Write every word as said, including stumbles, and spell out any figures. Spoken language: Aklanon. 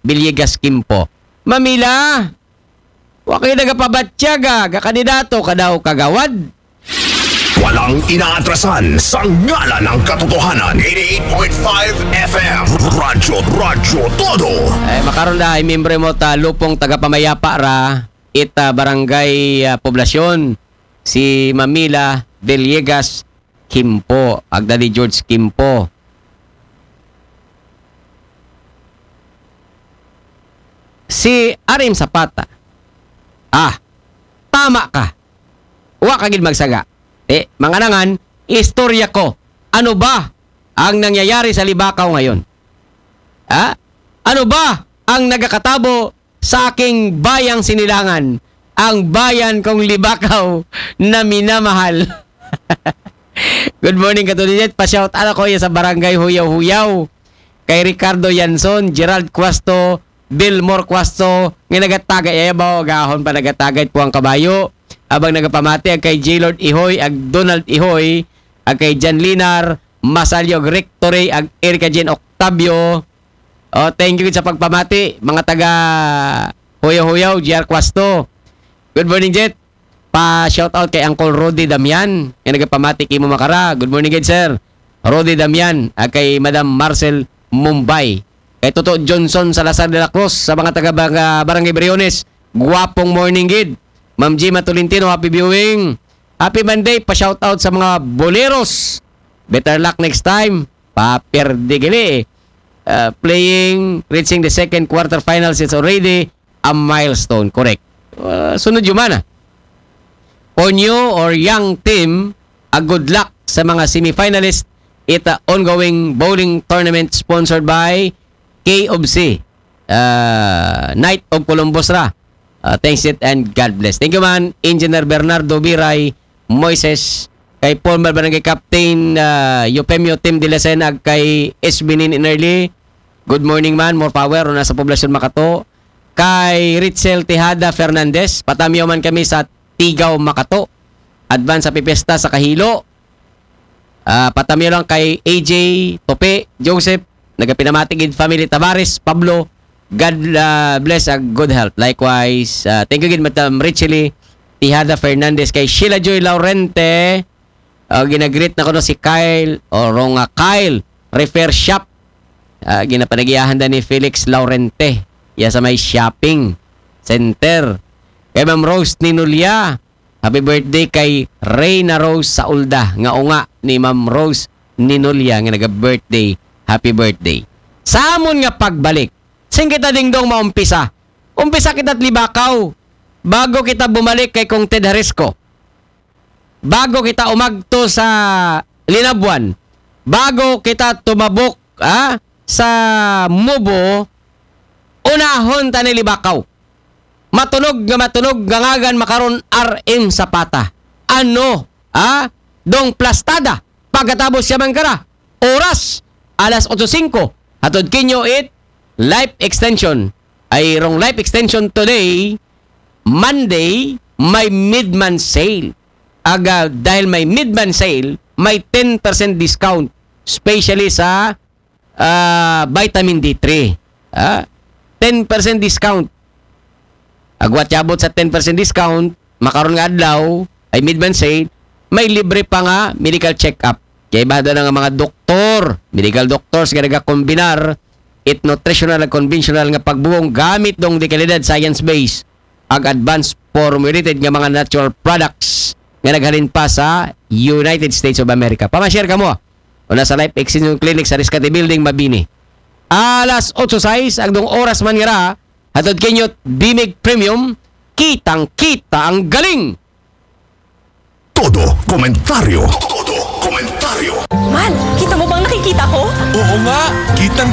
Villegas Quimpo. Mamila, wa kay nagapabatyaga, ga kandidato ka daw kagawad. Walang inaatrasan sa ngalan ng katotohanan. Eighty-eight point five F M. Radyo, Radyo Todo. Ay, makaron da, ay miyembro mo ta lupong tagapamayapa ra, ita barangay ah, poblasyon, si Mamila Villegas Quimpo, agda ni George Quimpo. Si Arim Zapata, ah, tama ka. Wa ka gid magsaga. Eh, manganangan, istorya ko. Ano ba ang nangyayari sa Libakaw ngayon? Ha? Ano ba ang nagakatabo sa aking bayang Sinilangan? Ang bayan kong Libakaw na minamahal. Good morning, Katulinet. Pa-shout out ako yan sa Barangay Huyaw-Huyaw. Kay Ricardo Yanson, Gerald Cuasto, Delmore Cuasto, nga nagatagay, ay ba, gahon pa nagatagay po ang kabayo. Abang nagapamati, ang kay J. Lord Ihoy, ang Donald Ihoy, ang kay Jan Linar, Masalyo, Rectory, ang Erica Jane Octavio. Oh, thank you sa pagpamati, mga taga Huyaw-Huyaw, G R Cuasto. Good morning, Jet. Pa shout out kay Uncle Rudy Damian, nga nagapamati kimo makara. Good morning, good sir. Rudy Damian, ah, kay Madam Marcel Mumbai. Kay Toto Johnson Salazar de la Cruz, sa mga taga Barang- Barangay Briones. Guwapong morning, gid. Ma'am Gima Tolentino, happy viewing. Happy Monday, pa shout out sa mga boleros. Better luck next time. Paperde gili. Uh, playing, reaching the second quarterfinals is already a milestone. Correct. Uh, sunod yung mana. For new or young team, a good luck sa mga semifinalist. Ita ongoing bowling tournament sponsored by K of C, uh, Knight of Columbus ra. Uh, thanks it and God bless. Thank you man, Engineer Bernardo Biray Moises, kay former Barangay Captain uh, Eufemio Tim Dilasena, kay S B Nin Inerly. Good morning man, more power, una sa poblasyon Makato. Kay Richel Tejada Fernandez, patamiyo man kami sa Tigaw, Makato. Advance sa pipesta sa Kahilo. Ah, patamiyo lang kay A J Tope Joseph, nagapinamati gid family Tavares Pablo. God ah, bless a good health. Likewise, ah, thank you gid Madam Richely Tejada Fernandez, kay Sheila Joy Laurente. Ah, ginagreet na ko no si Kyle o Ronga Kyle Repair Shop. Ah, ginapanagiyahan da ni Felix Laurente. Ya sa may shopping center. Kay Ma'am Rose Ninulia, happy birthday kay Reyna Rose Saulda, nga unga ni Ma'am Rose Ninulia nga naga-birthday. Happy birthday. Sa amon nga pagbalik, sin kita dingdong maumpisa. Umpisa kita Libakaw. Bago kita bumalik kay Kong Ted Harisco. Bago kita umagto sa Linabuan. Bago kita tumabok ah, sa Mubo, unahon ta ni Libakaw. Matunog nga matunog nga ngagan makaron R M Zapata. Ano? Ha? Dong plastada. Pagkatapos siya man kara. Oras, alas otso singko. Hatod kinyo it life extension. Ay rong life extension today, Monday, may midman sale. Aga, dahil may midman sale, may ten percent discount, especially sa ah, vitamin D three. Ah, ten percent discount. Agwat yabot sa ten percent discount, makaron nga adlaw, ay midman sale, may libre pa nga medical check-up. Kaya iba na nga mga doktor, medical doctors nga nagakombinar, it nutritional and conventional nga pagbuong gamit dong dekalidad science-based ag advanced formulated nga mga natural products nga naghalin pa sa United States of America. Pamashare ka mo. Una sa Life Extension Clinic sa Riscate Building, Mabini. Alas otso sais, agdong oras man nga ra, hatod kinyot, Bimig Premium, kitang-kita ang galing! Todo komentaryo. Todo komentaryo. Mal, kita mo bang nakikita ko? Oo nga, kitang